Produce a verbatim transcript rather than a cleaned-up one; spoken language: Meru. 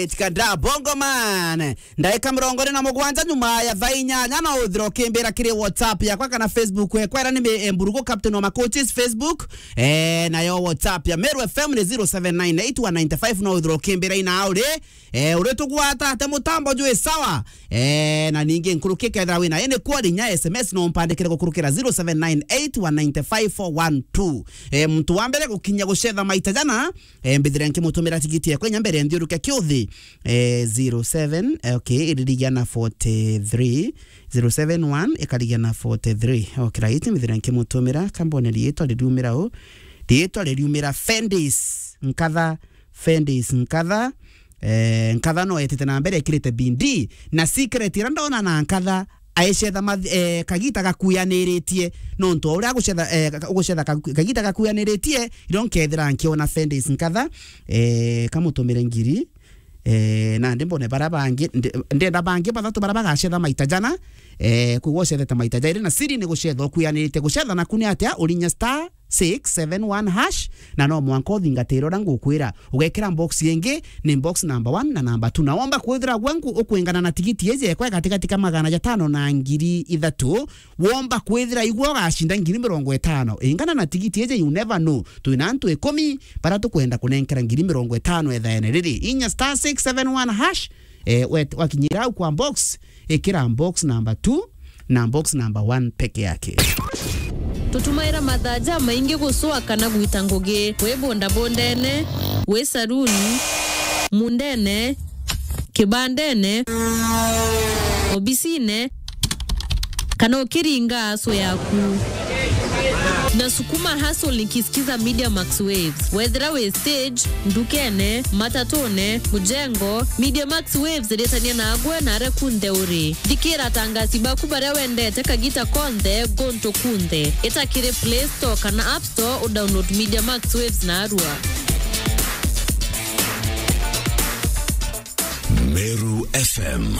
Itikada Bongo Man. Ndaika mirongo iri na mugwanja nyuma ya thaa inyanya no uthire ukimbira kiri WhatsApp yakwa kana Facebook yakwa, ira ni mi-, eh, Mburugu Captain wa Macoaches Facebook. Eh, nayo WhatsApp ya Meru F M ni zero seven nine eight one nine five, no uthire ukimbira ina uri. Eh, uri tugwata ate mutambo jwi sawa. Eh, na ningi nkuruki kethira wina ini kwari nya S M S no mpandikire gukurukira zero seven nine eight one nine five four one two. Eh, muntu wa mbere gukinya gucetha maita jana, eh, mbithire nkimutumira tigiti yakwa inya mbere nthiuruke kiuthi. Eh, zero seven, eh, okay, iririgia na forty-three, zero seven one ikarigia na forty-three. Okay, right, mbithire nkimutumira, kambone riitwa ririumira u. Riitwa ririumira Fendis, nkatha, Fendis, nkatha. Eh, nkatha no etite na mbere ekirite bindi. Na secret ira ndona na nkatha, aicetha math-, eh, kagita gakuyaniritie. Nontu o uria agucetha, eh, ka-, ugucetha ka-, kagita gakuyaniritie, iro nkethira nkiona Fendis nkatha, eh, kamutumire ngiri. Eh, nandi mbone bara bangi, ndi-, ndenda bangi bathatu bara bagacetha maita jana. Eh, kwigua ucethete maita jairi, na siri ni gucetha ukuyaniritie. Gucetha naku ni atia? Urinya star six seven one hash, na no mwanka uthingatire uria ngukwira. Ugekira box ingi, ni box number one na number two. Na womba kwithira gwanku ukwingana na tigiti iji ekwa gatigati ka magana jatano na ngiri ithatu, womba kwithira igwe ugacinda ngiri mirongo itano. Ingana na tigiti iji, you never know. Twina antu ikumi bara tukwenda kunenkera ngiri mirongo itano ethaene riri. Inya star six seven one hash, eh, wet-, wakinyira au kwa box, ikira box number two na box number one peke yake. Tutumaira mathaa jamaingi gucua kana gwita ngugi, wi bondabondene, wi saruni, mundene, kibandene, obisine, kana ukiringa aso yaku. Na sukuma hustle nikisikiza Media Max Waves. Wethira wi stage, ndukene, matatune, mujengo, Media Max Waves iritania nagwe na aria kunthe uri. Thikira atangasi baku baria wendete kagita konthe, guntu kunthe. Ita kiri Play Store kana App Store udownload Media Max Waves narua. Meru F M.